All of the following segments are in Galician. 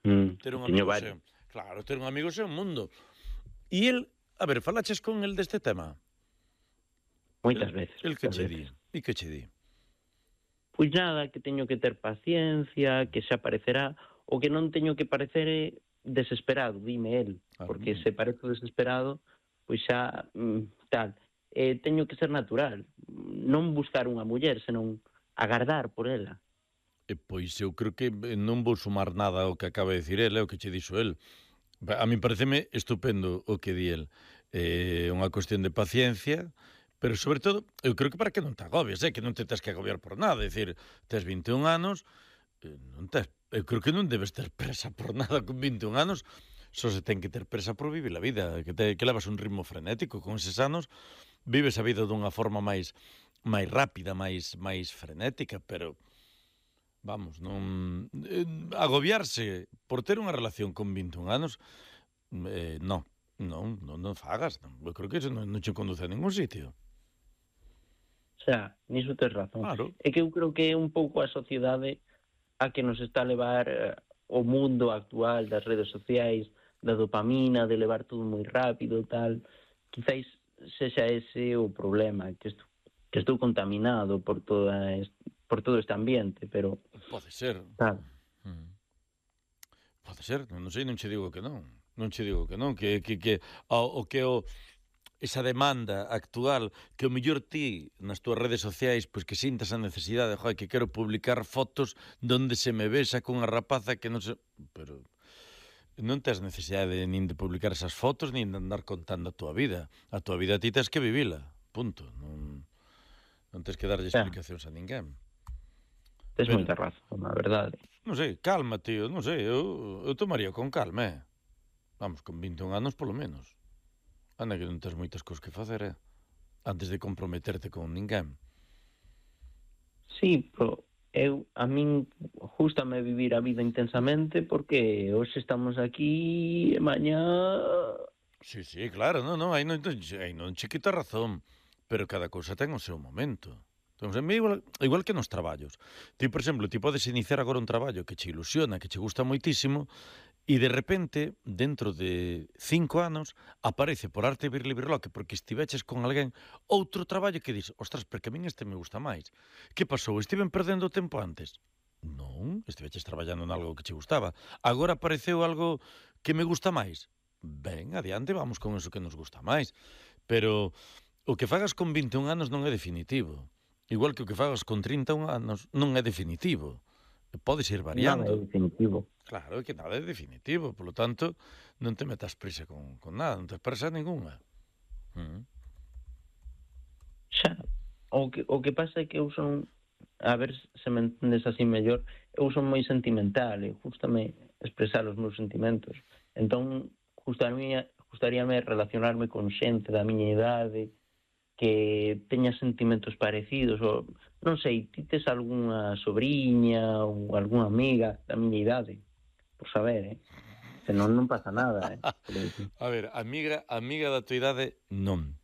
Ter un Teño amigo varios. xe... Claro, ter un amigo xe un mundo. E el, a ver, falaches con el deste tema? Moitas veces, El que moitas che di? veces. E que che di? Pois nada, que teño que ter paciencia, que xa aparecerá, o que non teño que parecer é desesperado, dime el, porque se parezo desesperado, pois xa tal. Teño que ser natural, non buscar unha muller, senón agardar por ela. Pois eu creo que non vou sumar nada ao que acaba de dicir el, é o que che dixo el. A mí pareceme estupendo o que di el. Unha cuestión de paciencia, pero sobre todo, eu creo que para que non te agobies, que non te tens que agobiar por nada, é dicir, tes 21 anos, non tes, eu creo que non debes ter presa por nada con 21 anos, só se ten que ter presa por vivir a vida, que levas un ritmo frenético, con eses anos vives a vida dunha forma máis rápida, máis frenética, pero vamos, non agobiarse por ter unha relación con 21 anos, non fagas, non. Eu creo que eso non che conduce a ningún sitio. Xa, niso tes razón. Claro. É que eu creo que é un pouco a sociedade a que nos está a levar o mundo actual das redes sociais, da dopamina, de levar todo moi rápido, tal. Quizáis sexa ese o problema, que estou contaminado por todo este ambiente, pero... Pode ser. Claro. Pode ser, non sei, non che digo que non. Non che digo que non, esa demanda actual que o mellor ti nas túas redes sociais pois que sintas a necesidade, que quero publicar fotos donde se me besa cunha rapaza que non se... Pero non tes necesidade nin de publicar esas fotos nin de andar contando a túa vida. A túa vida ti tes que vivila, punto. Non tes que darlle explicacións a ninguén. Tes moita razón, a verdade. Non sei, calma, tío, non sei, eu tomaría con calma, Vamos, con 21 anos polo menos. Anda que non tes moitas cousas que facer, antes de comprometerte con ninguén. Sí, pero a min gústame vivir a vida intensamente porque hoxe estamos aquí e mañá... Sí, claro, non, aí non che quita razón, pero cada cousa ten o seu momento. Entón, igual que nos traballos. Ti, por exemplo, ti podes iniciar agora un traballo que che ilusiona, que che gusta moitísimo, e de repente, dentro de 5 anos, aparece por arte de birlibirloque, porque estiveches con alguén, outro traballo que dis, ostras, porque a min este me gusta máis. Que pasou? Estiven perdendo o tempo antes? Non, estiveches traballando en algo que che gustaba. Agora apareceu algo que me gusta máis? Ben, adiante, vamos con eso que nos gusta máis. Pero o que fagas con 21 anos non é definitivo. Igual que o que fagas con 31 anos non é definitivo. Podes ir variando. Nada é definitivo. Claro, que nada é definitivo. Por lo tanto, non te metas prisa con nada. Non te prisa ninguna. Xa, o que pasa é que eu son... A ver se me entendes así mellor. Eu son moi sentimental e gústame expresar os meus sentimentos. Entón, gustaríame relacionarme con xente da miña idade que teña sentimentos parecidos, ou non sei, ti tes algunha sobrinha ou algunha amiga da miña idade, por saber, senón non pasa nada, A ver, amiga da tua idade, non.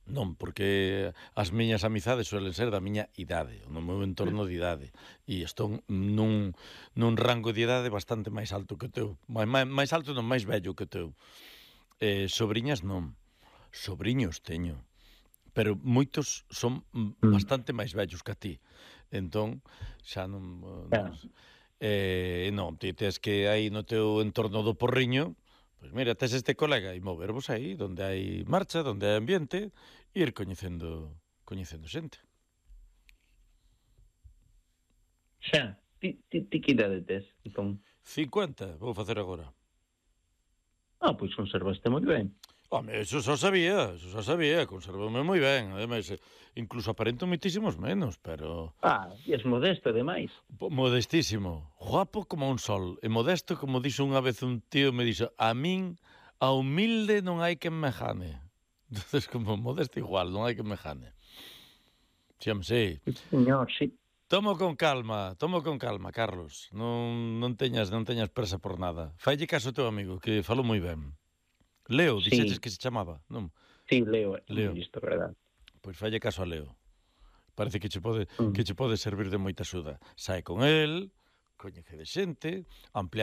Non, porque as miñas amizades suelen ser da miña idade, no meu entorno de idade, e estou nun rango de idade bastante máis alto que o teu, máis alto non, máis vello que o teu. Sobrinhas non, sobriños teño, pero moitos son bastante máis vellos que a ti. Entón, xa non... Non, ti tes que aí no teu entorno do porriño, pois mira, tes este colega e movervos aí, donde hai marcha, donde hai ambiente, e ir coñecendo xente. Xa, ti que idade tes, entón? 50, vou facer agora. Pois conservaste moi ben. Home, eso xa sabía, conservoume moi ben, ademais, incluso aparento moitísimos menos, pero... E es modesto, ademais. Modestísimo, guapo como un sol, e modesto, como dixo unha vez un tío, me dixo, a min, a humilde non hai quen me jane. Entonces, como modesto igual, non hai quen me jane. Sí. Señor, sí. Tomo con calma, Carlos, non teñas presa por nada. Faille caso ao teu amigo, que falou moi ben. Leo, dixeches que se chamaba, non? Sí, Leo, listo, verdad. Pois falle caso a Leo. Parece que che pode servir de moita axuda. Sae con el, coñece de xente, ampliar